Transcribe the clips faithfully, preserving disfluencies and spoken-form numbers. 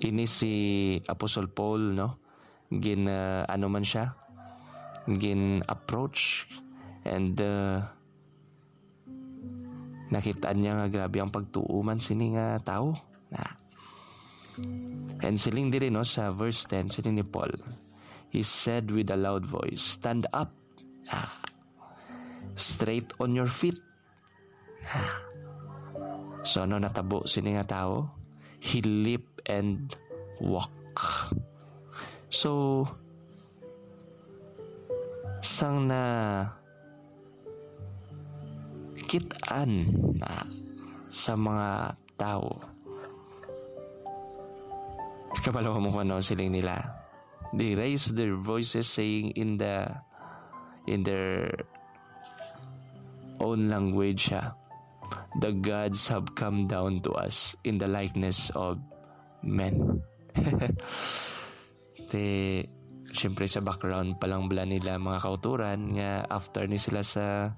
Ini si Apostol Paul, no? Gin, ah, ano man siya? Gin-approach and, ah, nakit-an niya nga grabe ang pagtuo man sini nga tawo. Na. And siling diri, no, sa verse ten, siling ni Paul, he said with a loud voice, "Stand up. Ah. Straight on your feet." Ah. So, ano natabo sini nga tawo? He leap and walk. So, sang na kit-an na sa mga tawo. Kabalo mo kung ano siling nila. They raised their voices saying in the, in their own language, ha, "The gods have come down to us in the likeness of men." Te, siyempre sa background pa lang bala nila mga kauturan nga after ni sila sa,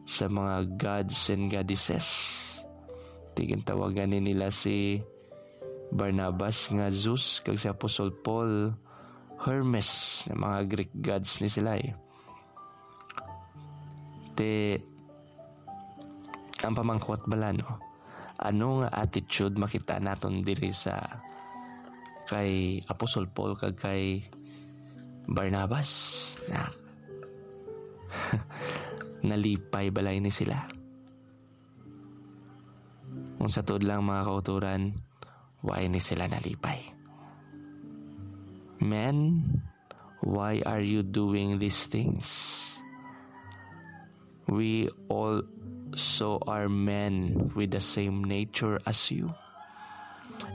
sa mga gods and goddesses. Ti gintawagan ni nila si Barnabas nga Zeus kag si Apostol Paul Hermes, nga mga Greek gods ni sila eh. Te, ang pamangkot bala, no? Ano nga attitude makita naton diri sa kay Apostol Paul kag kay Barnabas? Na, nalipay bala ini sila? Kung sa tuod lang, mga kauturan, why ni sila nalipay? Men, why are you doing these things? We also are men with the same nature as you,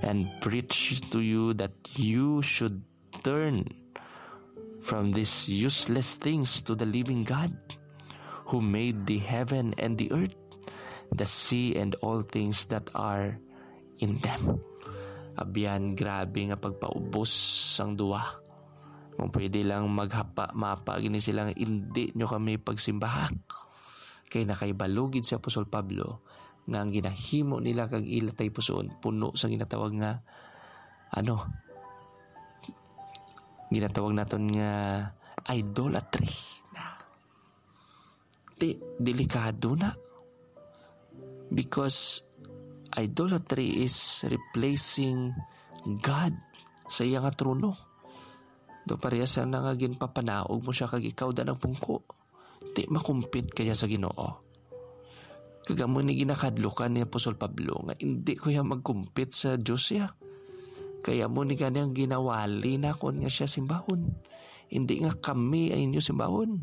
and preach to you that you should turn from these useless things to the living God, who made the heaven and the earth, the sea and all things that are in them. Abyan, grabe nga pagpaubos sang duwa. Kung pwede lang maghapa-mapa gini sila nga, "Indi nyo kami pagsimbaha." Kay nakahibalo gid si Apostol Pablo nga ang ginahimo nila kag ila tagipusoon puno sa ginatawag nga, ano, ginatawag naton nga idolatry. Ti, delikado na. Because idolatry is replacing God sa iya nga trono. Do pareha sa na nga ginpapanaog mo siya kag ikaw da nagpungko. Ti makumpit kaya sa Ginoo. Kag amo ni ginakadlukan ni Apostol Pablo nga indi ko ya magkumpit sa Dios ya. Kay amo ni gani ang ginawali nakon nga siya simbahon. Indi nga kami ang inyo simbahon.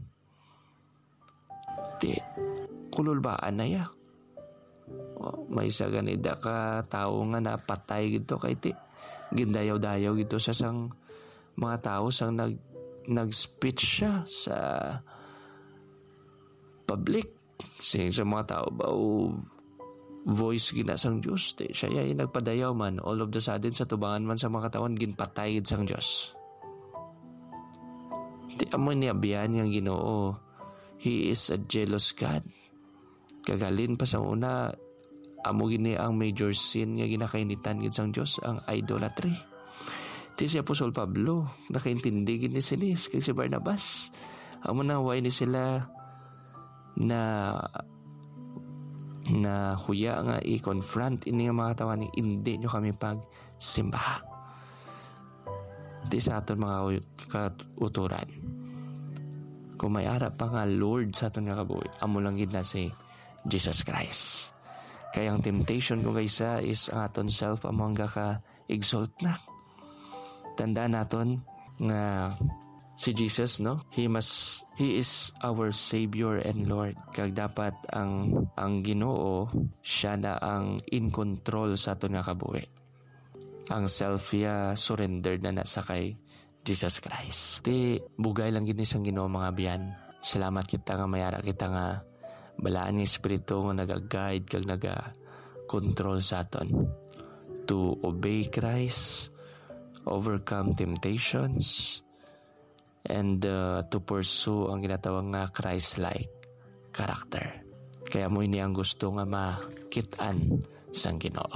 Ti, kululbaan na ya. O, may isa gani da ka tawo nga napatay gid to kay ti, gindayaw-dayaw gid to sa sang mga tawo sang nag-, nag-speech siya sa public. Sing sa mga tawo ba, o voice gina sang Dios, ti siya ya nagpadayaw man. All of the sudden, sa tubangan man sa mga katawan, ginpatay gid sang Dios. Ti amo ni abyan nga Ginoo, He is a jealous God. Kagalin pa sa una, amo gini ang major sin nga ginakainitan gid sang Dios, ang idolatry. Ti si Apostol Pablo, nakaintindi gid ni sini, kag si Barnabas. Amo na, why ni sila na, na huya nga i-confront ini nga mga tawo ni, "Indi nyo kami pagsimbaha." Ti sa aton mga u-, kauturan, kung may ara pa nga Lord sa aton nga kabuhi, amo lang gid na si Jesus Christ. Kay ang temptation kung kaisa is ang aton self amo ang gaka-exalt na. Tandaan naton nga si Jesus, no? He must, he is our Savior and Lord. Kag dapat ang, ang Ginoo, siya na ang in control sa aton nga kabuhi. Ang self ya surrendered na na sa kay Jesus Christ. Ti bugay lang gid ni sang Ginoo, mga abyan. Salamat kita nga may ara kita nga balaan nga espiritu nga naga-guide kag naga-control sa aton to obey Christ, overcome temptations, and, uh, to pursue ang ginatawag nga Christ-like character. Kaya mo ini ang gusto nga makit-an sang Ginoo.